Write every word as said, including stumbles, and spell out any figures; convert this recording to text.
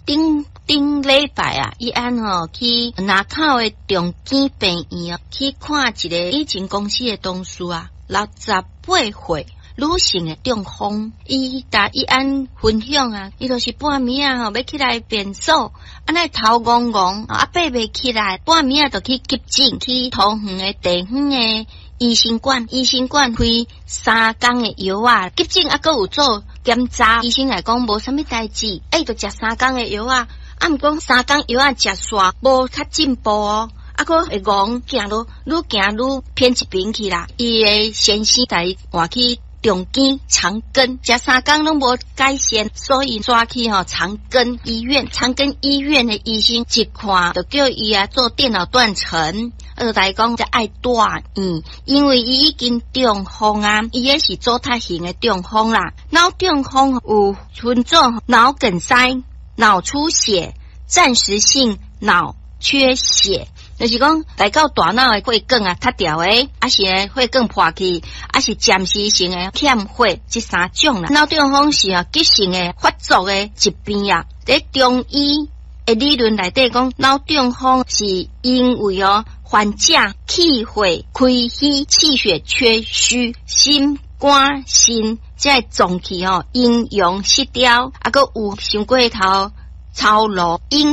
頂頂禮拜啊，伊按吼去林口的長庚病院去看一个以前公司的同事啊，六十八歲女性的中風。伊共伊按分享啊，伊就是半暝啊吼，欲起來便所，按呢頭戇戇，啊爬袂起來，半暝啊就去急診，去桃園的地方的醫生館，醫生館開三工的藥仔，急診猶閣有做檢查，醫生來講無啥物代誌，欸，伊就食三工的藥仔，啊，毋過三工藥仔食煞無較進步哦，啊，閣會戇行路愈行愈偏一邊去啦。伊的先生共伊換去長庚長庚，食三工攏無改善，所以轉去吼長庚醫院。長庚醫院的醫生一看，就叫伊啊做電腦斷層，啊，就共伊講這愛住院，因為伊已經中風啊，伊彼是阻塞型的中風啦。腦中風有分做腦梗塞、腦出血、暫時性腦缺血。就是講來到大腦的血管啊，塞掉的，抑是血管破去，抑是暫時性的欠血，這三種啦。腦中風是啊急性的發作的疾病啊。佇中醫的理論內底講，腦中風是因為哦患者氣血虧虛、氣血缺虛、心肝腎這个臟器吼陰陽失調，啊閣有傷過頭操勞。